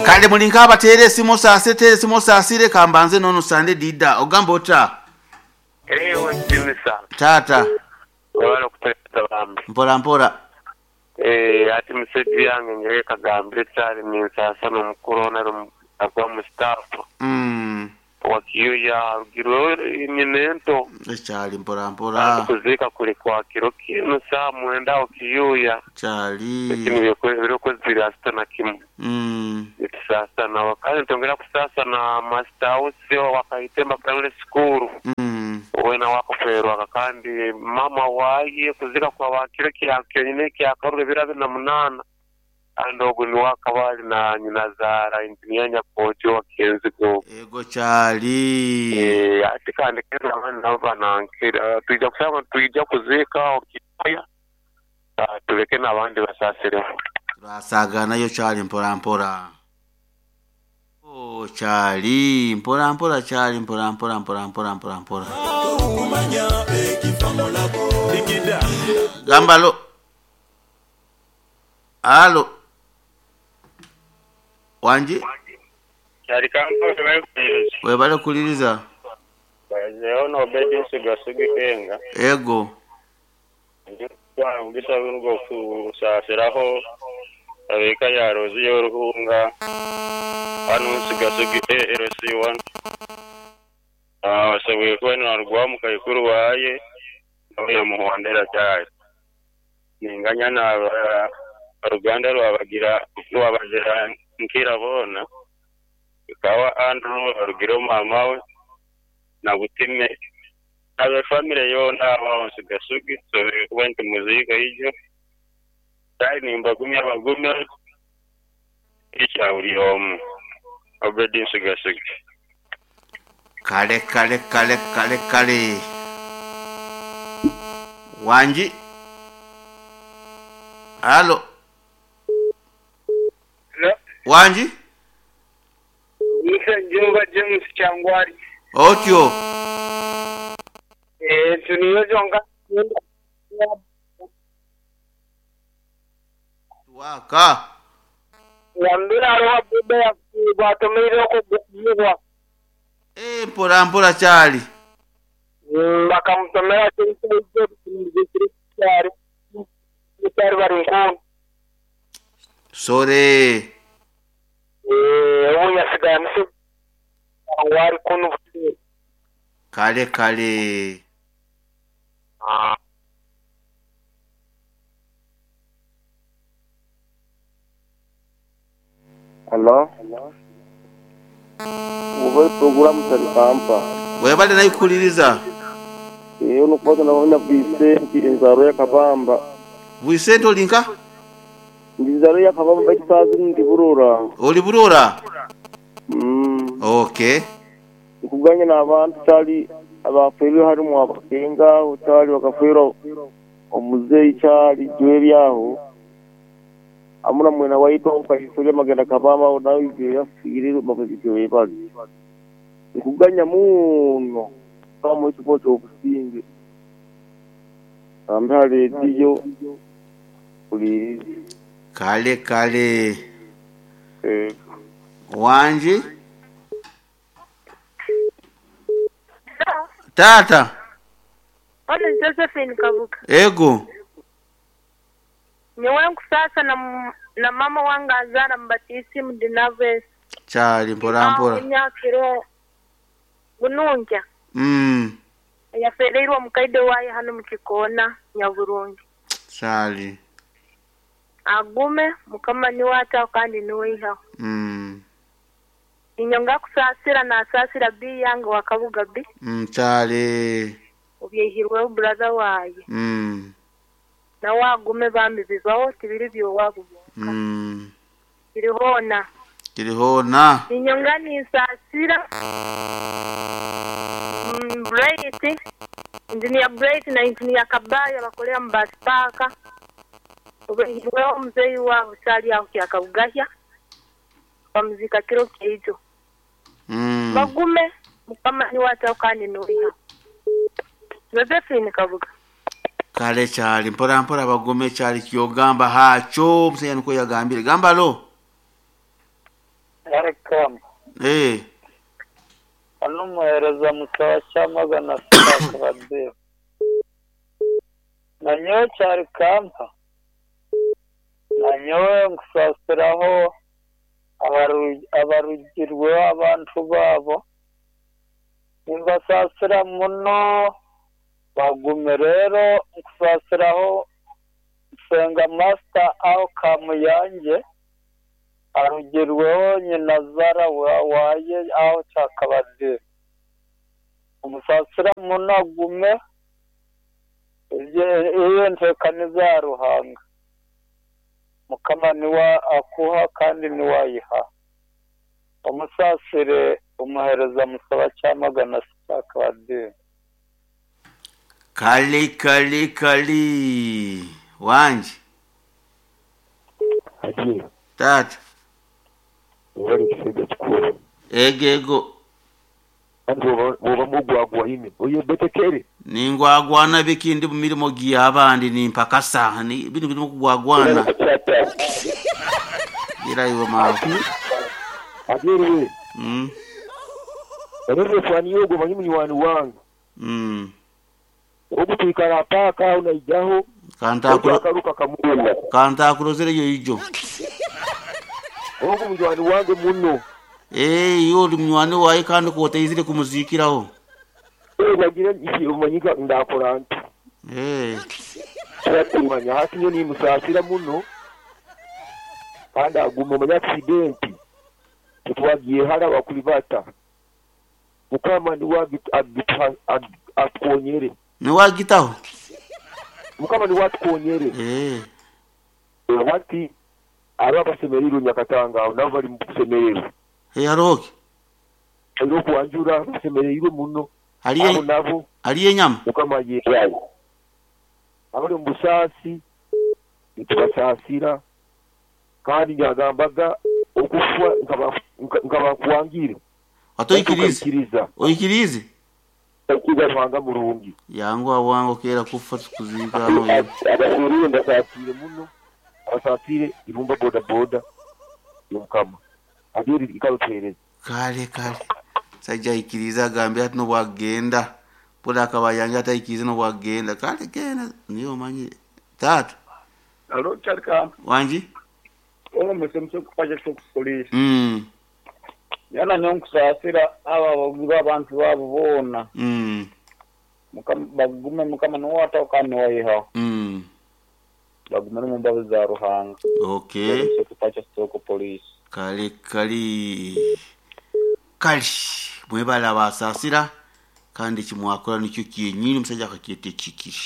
Kale muli nk'abateera esimu osaasire teera esimu osaasire kambanze n'ono Sande Dida ogamba ota? Ewe Jimisa. Taata. Webale okutuwereza bambi. Mpola mpola. Eeh ati message yange nyowe kagambire kyali ninsasa nomukuru ono agwa mu staff owa Kiyuya arugirweho nyina ento. Ekyali mpola mpola. Kandi kuziika kuri kwa kiro kinu saaha mwenda aho Kiyuya. Kyali. Ekindi ebiro ku ziri asatu na kimwe nitusaasa nawe. Kandi nitwongera kusaasa na Master Ausi owa Kaitemba Primary School weena owakufeerwa kandi maama waaye kuziika kwaba kiro kya kyonyine ekyakaruru ebiro 28 kandi ogwo niwe akaba ari na nyinazaara Engineer Nyakoojo owa Kenzigo. Ego kyali. Hati kandi kenda abandi nabo banankira twija kushanga nitwija kuziika aho Kiyooya. Tuleke n'abandi basaasireho. Turasaaganayo kyali mpora mpora. Oh, kyali mpora mpora kyali mpora mpora mpora mpora mpora mpora. Gamba alo. Alo. Wangi? Kyali Kampala webale kuliriza. Webale kuliriza. Bazeho n'Obedi Nsiga Sugi Kenga. Ego. Ndi kutwara omugisa gunu ogw'okusaasiraho ab'eka ya Roziya Oruhunga hanu Nsiga Sugi ALC1. Asoboire kuba naarugwaho mukaikuru waaye nawe yamuhondera kyari. Ninganya na oruganda rwabagira rwabazira nkira boona. Ikawa Andrew arugireho maama we na Butime n'abe famire yoona aho Nsiga Sugi tusoboire kuba nitumuziika ijo. Kale nimbagumya bagume ekya buri omwe. Obedi Nsiga Sugi. Kale kale kale kale kale. Wangi? Alo. Hello. Wangi? Nise Jumba James Kyangwali. Otyo? Eeh tuniyo zonka. Waaka. Wambira hariho boda yafiire gwatomeire okwo gukubibwa. Eeh mpola mpola kyali. Bakamutomera kyali bari nkuunu. Sore. Eeh obu yasigara nise Kyangwali kunu butwire. Kale kale. Halo. Oba puroguramu Talikampa. Webale nayo kuhuliriza. Eeh nokubaasa nabona Bwisenti enzaarwa ya Kabamba. Bwisenti ori nka? Ndi nzaarwa ya Kabamba baitu saaha zinu ndi Burora. Ori Burora? Mm. Okay. Nkuganya n'abantu kyali abaafeirwe harimu abakenga aho kyali bakafeerwa omuzeeyi kyali Joel aho hamwe na mwena waitu aho Kaisoli Magenda Kabamba aho nawe ijo yafiire ijo webale. Nkuganya muno bamuhe ekifo ky'obusinge. Ambe ha rediyo huliirize. Kale kale. Ego. Wangi? Taata. Ono ni Josephine Kabuga. Ego. Nyowe nkusaasa na, na mama wange anzaara mu batiisimu Dinaves. Kyali mpora mpora. Emyaka ero bunungya. Eyafeereirwe omukaide waaye hanu mu kikoona Nyaburungi. Kyali. Agume, Mukama niwe ataho kandi niwe aihaho. Niinyonga kusaasira naasaasira B yange wa Kabuga B. Kyali. Obyaihirweho brother waaye. Nawe agume bambi bibaho tibiri by'owaabo byonka. Kiri hoona. Kiri hoona. Niinyonga ninsaasira Bright, Engineer Bright na Engineer Kabaya bakorera mu bus park. Obaihirweho omuzeeyi waabo Sally aho Kyakabugahya. Bamuziika kiro kyaijo. Bagume, Mukama niwe ataho kandi niwe aihaho. Josephine Kabuga. Kale kyali mpora mpora bagume kyali kyogamba haakyo omushaija nikwo yagambire. Gamba alo. Welcome. Eh. Ono omuhereza Musawa Kyamagana Spark Badir. Nanyowe Kyarikampa, nanyowe nkusaasiraho abarugirweho abantu baabo. Nimbasaasira muno bagume. Reero nkusaasiraho Nsenga Master aho Kamuyangye arugirweho nyinazaara waaye aho Kyakabadiro. Omusaasira muno agume eyo enteekaniza ya Ruhanga. Mukama niwe akuha kandi niwe ayiha. Omusaasire omuheereza Musaba Kyamagana Spark. Kali kali kali. Wangi. Haji, Taata. wali ekisajja kikulu. Ego ego. Anti bw'oba mugwagwa ine oyo betekere. Ningwagwana biki ndi mu mirimo gy'abandi nimpakasa. Ni bino birimu kugwagwana. Gira iwe mawe. Abyeriwe. Erefani yogo manyi munywani wange. Ogutwikara paaka aho naijaho. Kantakuruka kamuna. Kantakurozereyo ijo. Ogu munywani wange muno. Eh, yo uri munywani wawe kandi koteizire kumuzikiraho. Eh, wagira iki umanyika ndakora nti. Eh. Kumanya hati nyo nimusasira muno. Kandi aguma omanya accident. Tetwagiye hara wakulibata. Mukama niwe atukonyere. Niwe agitaho? Mukama niwe atukonyere. Eh. Wati aba basemereirwe Nyakatanga aho nabo bari mu kusemererwa. Eh, hariho ki? Hariho okuwanjura basemereirwe muno. Hariyo Abo nabo hariyo enyama? Mukama yeewayo. Abari omu busaasi nitubasaasira kandi nyagambaga okufa nkaba nkuwangire. Atoikirize. Oikirize? Oikiriza Ruhanga murungi. Yangu awango kera kufa tukuzika hano. Abafiiriwe mbasaasire muno. Abasaasire irumba boda boda yomukama. Abyeri ikarutereza. Kale kale. Sajja ikiriza agambye ati nobwagenda. Boda akaba yange ataikirize nobwagenda. Kale genda niyo manyi. Tata. Alo Kyarika. Wangi? Ono musemse kupaja kyo police. Yana nyo nkusaasira aba baguba abantu babo boona. Mukama bagume mukama niwe kandi niwe. Bagume mu mbabazi za Ruhanga. Okay. Kupacha soko police. Kale kali kali mwebala basaasira kandi kimwakora nikyo kyenyini omusajja akakyeta ekikiri.